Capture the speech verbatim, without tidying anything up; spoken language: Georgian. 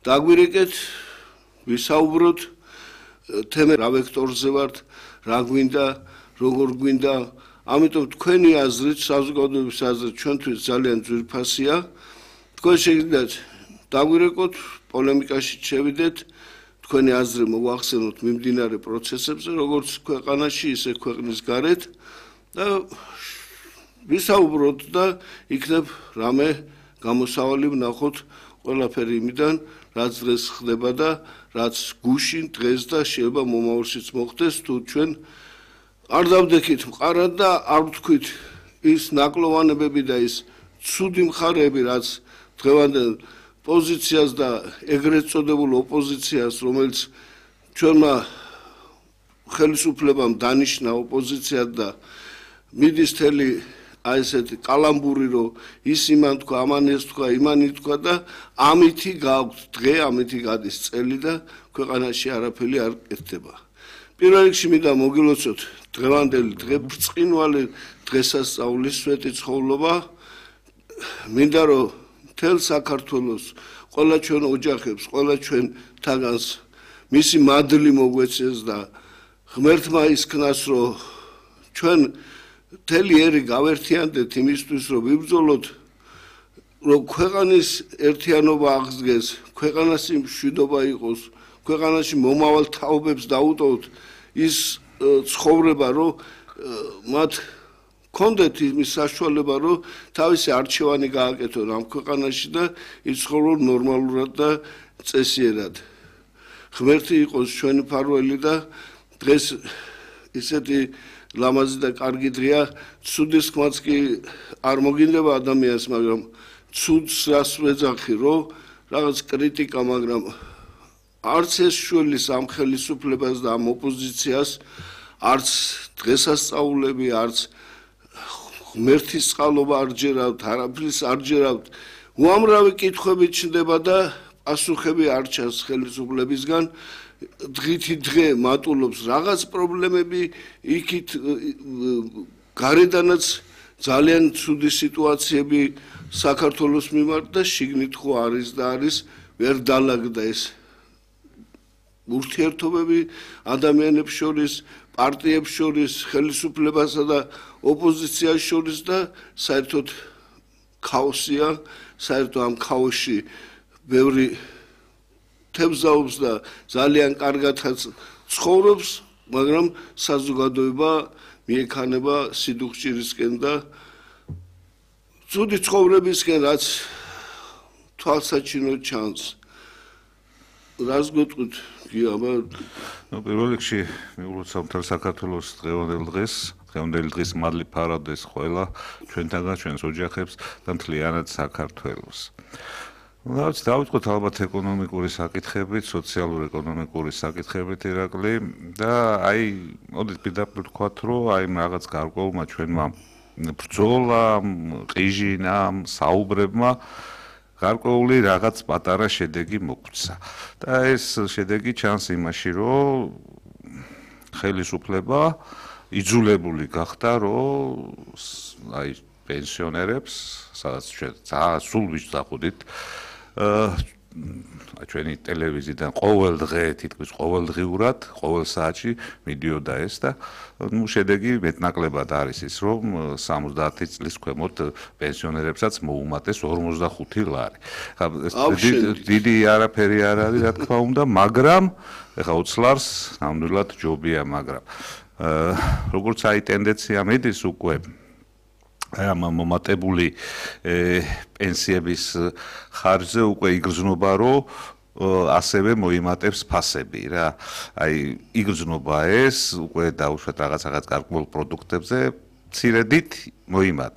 დაგვირეკეთ, ვისაუბროთ თემა რა ვექტორზე ვართ, რა გვინდა, როგორ გვინდა, ამიტომ თქვენი აზრით, საზოგადოების აზრით ჩვენთვის ძალიან ძვირფასია. თქვენ შეგიძლიათ დაგვირეკოთ, პოლემიკაში შევიდეთ, თქვენი აზრი მოვახსენოთ მიმდინარე პროცესებზე, როგორც ქვეყანაში, ისე ქვეყნის გარეთ და ვისაუბროთ და იქნებ რამე გამოსავალი ვნახოთ ყველაფერი იმიდან, რაც დღეს ხდება და რაც გუშინ დღეს და შეიძლება მომავალშიც მოხდეს, თუ ჩვენ არ დავდექით მყარად და არ ვთქვით ის ნაკლოვანებები და ის ცუდი მხარეები, რაც დღევანდელ პოზიციას და ეგრეთ წოდებულ ოპოზიციას, რომელიც ჩვენმა ხელისუფლებამ დანიშნა ოპოზიციად და მიდის თელი აი ესეთი კალამბური, რომ ის იმან თქვა, ამან ეს თქვა, იმანი თქვა და ამითი გააქვთ დღე, ამითი გადის წელი და ქვეყანაში არაფერი არ კეთდება. პირველ რიგში მინდა მოგილოცოთ დღევანდელი დღე ბრწყინვალე დღესასწაულის სვეტი ცხოვრება. მინდა რომ მთელ საქართველოს ყველა ჩვენ ოჯახებს, ყველა ჩვენ თაგანს მისი მადლი მოგვეცეს და ღმერთმა ისქნას, რომ ჩვენ მთელი ერი გავერთიანდეთ იმისთვის, რომ ვიბრძოლოთ, რომ ქვეყანის ერთიანობა აღსდგეს, ქვეყანაში მშვიდობა იყოს, ქვეყანაში მომავალ თაობებს დაუტოვოთ ის ცხოვრება, რომ მათ კონდეთ იმის საშუალება, რომ თავისი არჩევანი გააკეთონ ამ ქვეყანაში და იცხოვრონ ნორმალურად და წესიერად. ღმერთი იყოს ჩვენი მფარველი და დღეს ისეთი ლამაზი და კარგი დღეა, ცუდის ხმაც კი არ მოგინდება ადამიანს, მაგრამ ცუდს რას ვეძახი, რომ რაღაც კრიტიკა, მაგრამ არც ეს შვილის ამ ხელისუფლებას და ამ ოპოზიციას, არც დღესასწაულები, არც ღმერთის წყალობა არ ჯერავთ, არაფრის არ ჯერავთ. უამრავი კითხვები ჩნდება და პასუხები არ ჩანს ხელისუფლებისგან. დღითი დღე მატულობს რაღაც პრობლემები, იქით გარედანაც ძალიან ცუდი სიტუაციები საქართველოს მიმართ და შიგნით ხო არის და არის, ვერ დაალაგდა ეს ურთიერთობები ადამიანებს შორის, პარტიებს შორის, ხელისუფლებასა და ოპოზიციას შორის და საერთოდ ქაოსია, საერთოდ ამ ქაოსში ბევრი თევზაობს და ძალიან კარგადაც ცხოვრობს, მაგრამ საზოგადოება მიექანება სიდუხჭირისკენ და ცუდი ცხოვრებისკენ, რაც თვალსაჩინო ჩანს. რას გეტყვით? გიაბა. ნუ პირველ რიგში მიულოცავ მთელ საქართველოს დღევანდელ დღეს, დღევანდელი დღის მადლი ფარადეს ყველა ჩვენთაგან, ჩვენს ოჯახებს და მთლიანად საქართველოს. რაც დავიწყოთ ალბათ ეკონომიკური საკითხებით, სოციალურ-ეკონომიკური საკითხებით ირაკლი და აი, მოდით პირდაპირ ვთქვათ, რომ აი რაღაც გარკვეულმა ჩვენმა ბრძოლამ, ყიჟინამ, საუბრებმა გარკვეული რაღაც პატარა შედეგი მოგვცა. და ეს შედეგი ჩანს იმაში, რომ ხელისუფლება იძულებული გახდა, რომ აი პენსიონერებს, სადაც ჩვენ ძალიან სულ ვიჯდახუდით, ჩვენი ტელევიზიიდან ყოველ დღე, თითქმის ყოველდღიურად, ყოველ საათში მიდიოდა ეს და ნუ შედეგი მეტნაკლებად არის ის, რომ სამოცდაათი წლის ქვემოთ პენსიონერებსაც მოუმატეს ორმოცდახუთი ლარი. დიდი არაფერი არ არის, რა თქმა უნდა, მაგრამ ეხლა ოცი ლარს ნამდვილად ჯობია, მაგრამ როგორც აი ტენდენცია მიდის უკვე ამ მომატებული პენსიების ხარჯზე უკვე იგრძნობა, რომ ასევე მოიმატებს ფასები რა. აი იგრძნობა ეს უკვე დაუშვათ რაღაც რაღაც გარკვეულ პროდუქტებზე, მცირედით მოიმატა.